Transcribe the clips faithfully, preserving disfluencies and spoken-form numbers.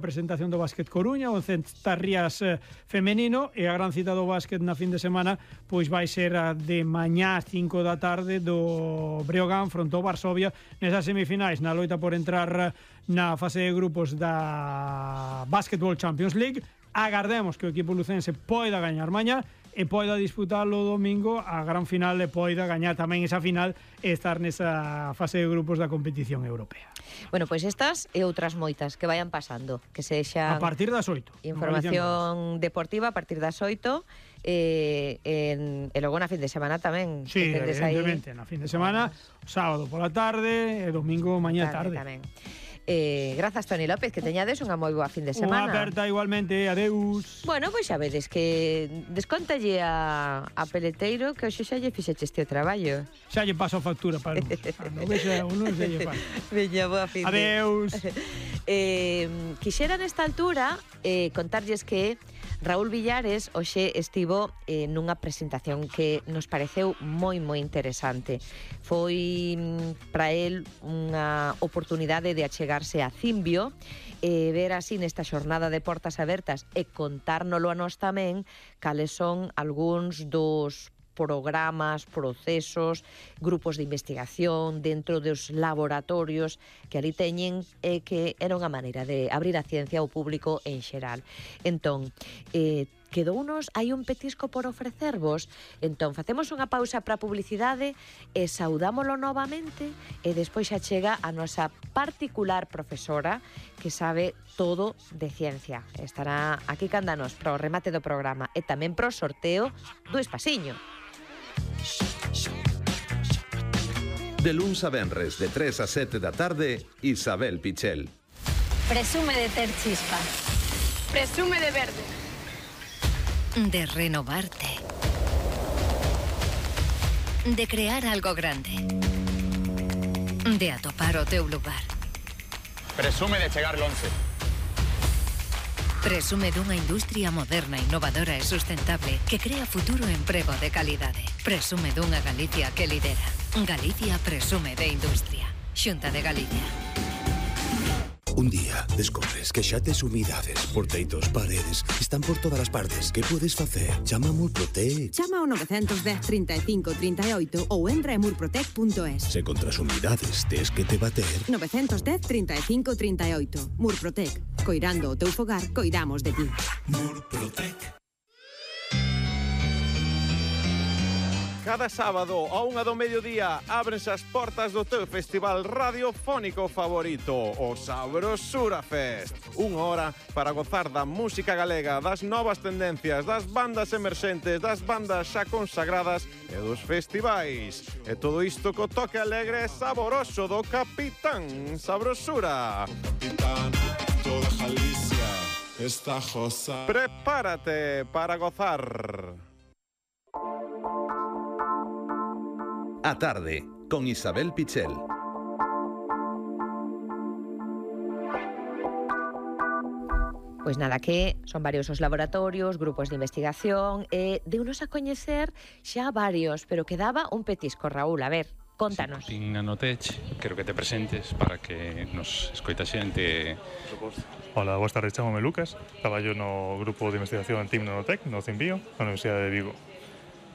Presentación do Básquet Coruña, o Centarrías eh, femenino, e a gran cita do básquet na fin de semana pois vai ser a de mañá ás cinco da tarde do Breogán fronte ao Varsovia nesas semifinais na loita por entrar na fase de grupos da Basketball Champions League. Agardemos que o equipo lucense poida gañar mañá e poida disputalo o domingo a gran final e poida gañar tamén esa final e estar nesa fase de grupos da competición europea. Bueno, pois pues estas e outras moitas que vayan pasando, que sexa a partir das oito. Información deportiva a partir das oito e, en, e logo na fin de semana tamén. Sí, evidentemente, aí na fin de semana, sábado pola tarde e domingo mañá tarde. tarde. Tamén. Eh, grazas, Toni López, que teñades unha moi boa fin de semana. Unha aperta igualmente, adeus. Bueno, pois xa vedes que descontalle a, a Peleteiro que hoxe xa lle fixeches este traballo. Xa lle paso a factura para luz. Non vexa uno se lle paso. Veña, boa fin de. Adeus. eh, quixera nesta altura eh, contarlles que Raúl Villares hoxe estivo eh, nunha presentación que nos pareceu moi moi interesante. Foi para el unha oportunidade de achegarse a Cimbio e ver así nesta xornada de portas abertas e contárnolo a nós tamén cales son algúns dos programas, procesos, grupos de investigación dentro dos laboratorios que ali teñen e que era unha maneira de abrir a ciencia ao público en xeral. Entón, eh, quedounos, hai un petisco por ofrecervos, entón facemos unha pausa para publicidade e saudámolo novamente e despois xa chega a nosa particular profesora que sabe todo de ciencia. Estará aquí cándanos para o remate do programa e tamén para o sorteo do Espasiño. De luns a venres, de tres a sete da tarde, Isabel Pichel. Presume de ter chispa. Presume de verde. De renovarte. De crear algo grande. De atopar o teu lugar. Presume de chegar lonxe. Presume dunha industria moderna, innovadora e sustentable que crea futuro e emprego de calidade. Presume dunha Galicia que lidera. Galicia presume de industria. Xunta de Galicia. Un día descobres que xa tes humidades por teitos, paredes, están por todas as partes. Que podes facer? Chama a Murprotec. Chama ao nove un cero, trinta e cinco, trinta e oito ou entra en murprotec punto es. Se contra as humidades tes que te bater. nove un cero, trinta e cinco, trinta e oito. Murprotec. Coirando o teu fogar, coidamos de ti. Murprotec. Cada sábado a unha do mediodía ábrense as portas do teu festival radiofónico favorito, o Sabrosura Fest. Unha hora para gozar da música galega, das novas tendencias, das bandas emerxentes, das bandas xa consagradas e dos festivais. E todo isto co toque alegre e saboroso do Capitán Sabrosura. Capitán, toda Galicia está josa. Prepárate para gozar. A tarde, con Isabel Pichel. Pois nada, que son varios os laboratorios, grupos de investigación e deunos a coñecer xa varios, pero quedaba un petisco, Raúl, a ver, contanos. Sí, tin Nanotech, quero que te presentes para que nos escoita xente. Hola, boas tardes, chamome Lucas, traballo no grupo de investigación Team Nanotech, no Cimbio, na Universidade de Vigo.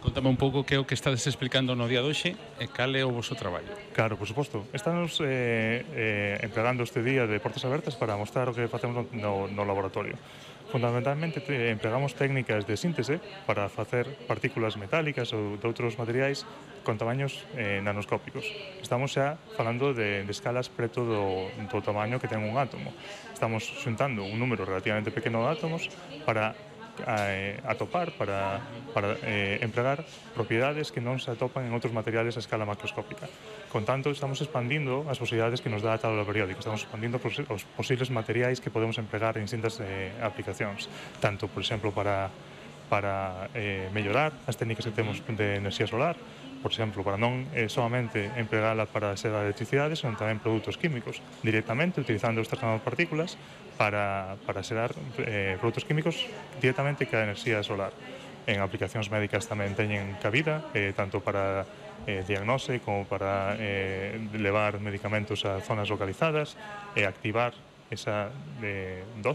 Contame un pouco que é o que estades explicando no día de hoxe e cal é o vosso traballo. Claro, por suposto. Estamos eh, eh, empregando este día de portas abertas para mostrar o que facemos no, no laboratorio. Fundamentalmente te, empregamos técnicas de síntese para facer partículas metálicas ou de outros materiais con tamaños eh, nanoscópicos. Estamos xa falando de, de escalas preto do, do tamaño que ten un átomo. Estamos xuntando un número relativamente pequeno de átomos para a, a topar para, para eh, empregar propiedades que non se atopan en outros materiales a escala macroscópica. Con tanto, estamos expandindo as posibilidades que nos dá a tabla periódica, estamos expandindo os posibles materiais que podemos empregar en distintas eh, aplicacións, tanto, por exemplo, para, para eh, mellorar as técnicas que temos de enerxía solar, por exemplo, para non eh, solamente empregala para ser a electricidade, senón tamén produtos químicos, directamente utilizando estas nanopartículas para, para xerar eh, produtos químicos directamente que a enerxía solar. En aplicacións médicas tamén teñen cabida, eh, tanto para eh, diagnose como para eh, levar medicamentos a zonas localizadas e activar esa de dose